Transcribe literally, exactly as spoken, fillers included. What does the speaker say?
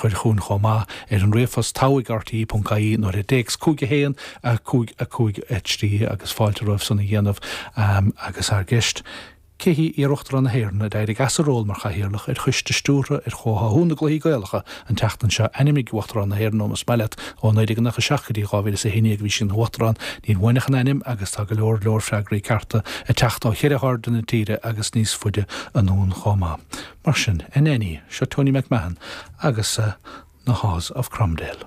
chur chugainn chomh maith ar an ríomhphost togha ag R T E ponc I E nó ar an téacs cúig a haon a cúig a cúig a trí agus fáilte romhaibh san a dhéanamh um, agus ár gceist. Cé hí iar-uachtarán na hÉireann a d'éirigh as a ról mar chathaoirleach ar choiste stiúrtha ar chomhtháthú na gCluichí Gaelacha an tseachtain seo? Ainmnigh Uachtarán na hÉireann más maith leat ó naoi déag nócha seacht go dtí dhá mhíle a haon déag bhí sí ina huachtarán. Níl uainn ach an ainm agus tá go leor leor freagraí cearta ag teacht ó cheithre hairde na tíre agus níos faide anonn chomh maith. Mar sin, in éiní seo Tony McMahon agus uh, na Haws of Cromdale.